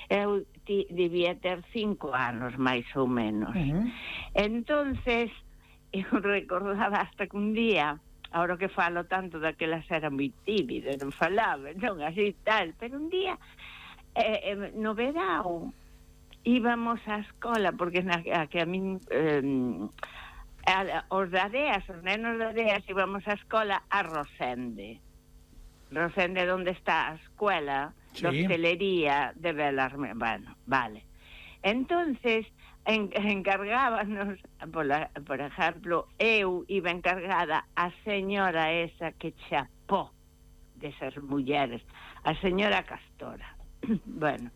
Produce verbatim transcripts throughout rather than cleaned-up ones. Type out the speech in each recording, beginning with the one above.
Eu ti, debía ter cinco anos, máis ou menos. Uh-huh. Entonces, eu recordaba hasta que un día, ahora que falo tanto daquelas era moi tímida, non falaba, non así tal, pero un día, eh, eh, no verao, íbamos á escola, porque na, a, que a min... Eh, a, os da Areas, os nenos da Areas, íbamos á escola a Rosende. Rosende, onde está a escuela sí. de hostelería de Belarme. Bueno, vale. Entonces, en, encargábanos, por, la, por exemplo, eu iba encargada a señora esa que chapó desas mulleres, a señora Castora. Bueno,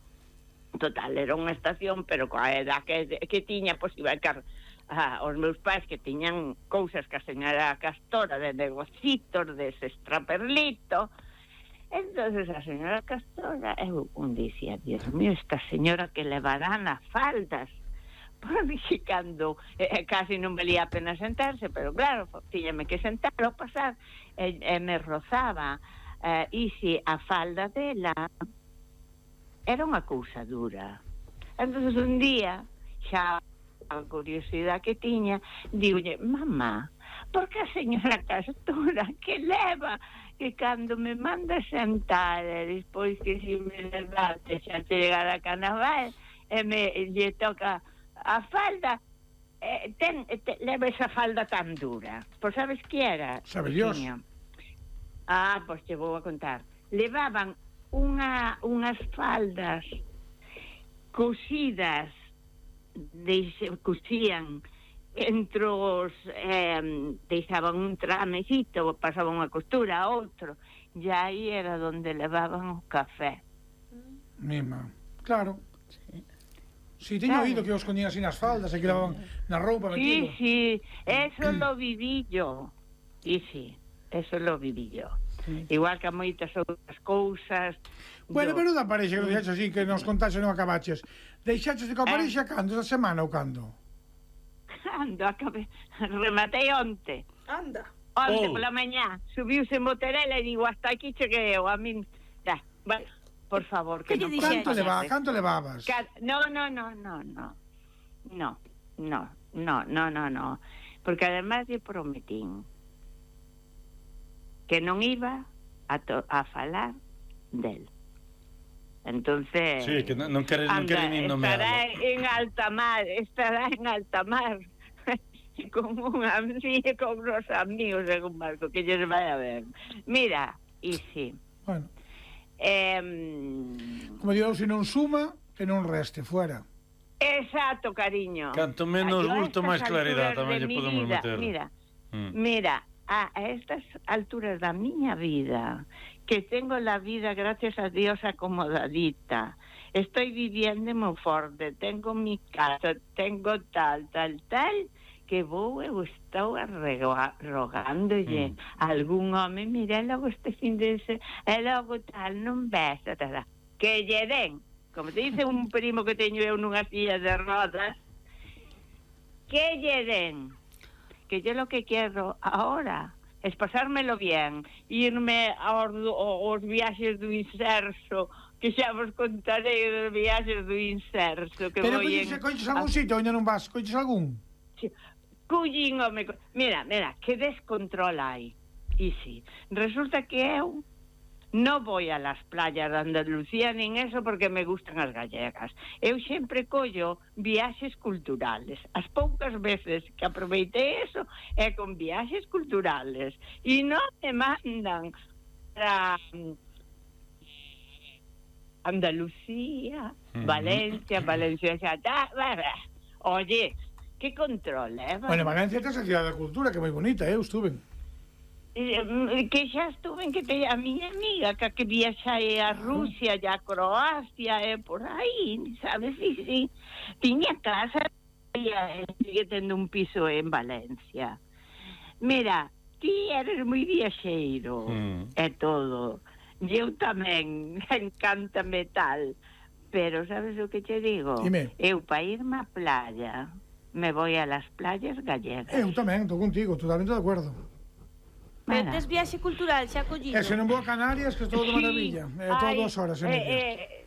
total, era unha estación, pero coa edad que, que tiña, pois iba a encargar ah, os meus pais que tiñan cousas que a señora Castora de negocitos, de ese extraperlito. Entonces a señora Castora eu un dicía, Dios mío, esta señora que levará nas faldas, porque cando eh, casi non valía a pena sentarse, pero claro, tiñame que sentar ao pasar e, e me rozaba eh, e si a falda dela era unha cousa dura. Entonces un día xa a curiosidade que tiña, digolle, mamá, por que a señora Castora que leva, que cando me manda sentar, e despois que si me levante xa chegar a Carnaval, e me lle toca a falda, eh, ten, te, leva esa falda tan dura? Pois sabes que era? Sabe Dios. Ah, pois te vou a contar. Levaban unha, unhas faldas cosidas, Deixe, cosían entre os eh, deixaban un tramecito, pasaban unha costura a outro, e aí era donde levaban o café. Mima, claro. Si, sí, teño claro. oído que os coñían así nas faldas e que levaban na roupa metido. Sí, sí, eso lo viví yo. Y sí, eso lo viví yo. Sí. Igual que a moitas outras cousas. Bueno, yo... pero da parexa que dixaches así, que nos contaxe non acabaches. Deixaches de coa parexa eh? cando, esta semana ou cando? Cando, acabé, rematei onte. Anda. Onte oh. pola mañá, subiuse en motorela e digo, hasta aquí cheguei eu, a min, da, bueno, por favor, que, que non... Canto levaba, canto levabas? Ca... No, no, no, no, no, no, no, no, no, no, no, porque además lle prometín que non iba a, to a falar del. Entonces... Sí, que non quere, non quere nin nomearlo. Estará en alta mar, estará en alta mar con un amigo, con unos amigos en un barco que ellos vayan a ver. Mira, y sí. Bueno. Eh, Como digo, se non suma, que non reste, fuera. Exacto, cariño. Canto menos bulto, máis claridade tamén lle podemos vida, meter. Mira, mm. mira, a, a estas alturas da miña vida, que tengo la vida, gracias a Dios, acomodadita, estoy viviendo moi forte, tengo mi casa, tengo tal, tal, tal, que vou, eu estou rogándolle mm. a algún home, mira, logo este fin de se, e logo tal, non ves, tal, que lle den, como te dice un primo que teño eu nunha silla de rodas, que lle den, que yo lo que quiero ahora es pasármelo bien, irme aos, aos viaxes do inserso, que xa vos contarei dos viaxes do inserso. Que pero en... coñes algún a... sitio, onde non vas? Coñes algún? Sí. Cullín, home, mira, mira, que descontrol hai. E sí, resulta que eu non voy a las playas de Andalucía nin eso porque me gustan as gallegas. Eu sempre collo viaxes culturales. As poucas veces que aproveitei eso é con viaxes culturales. E non me mandan para Andalucía, uh-huh. Valencia, Valencia xa está. Oye, que control, eh? Bueno, Valencia é a cidade da cultura, que é moi bonita, eu estuve. Que xa estuve en que te, a miña amiga que, que viaxai a Rusia e a Croacia e por aí, sabes, sí, sí, tiña casa e sigue tendo un piso en Valencia. Mira, ti eres moi viaxeiro mm. e todo, eu tamén encántame tal, pero sabes o que te digo? Dime. Eu para irme á playa me voy a las playas gallegas. Eu tamén, estou contigo, totalmente de acuerdo. Pero tes viaxe cultural xa collido. E se non vou a Canarias, que estou de maravilla. É todo dos horas en eh, eh,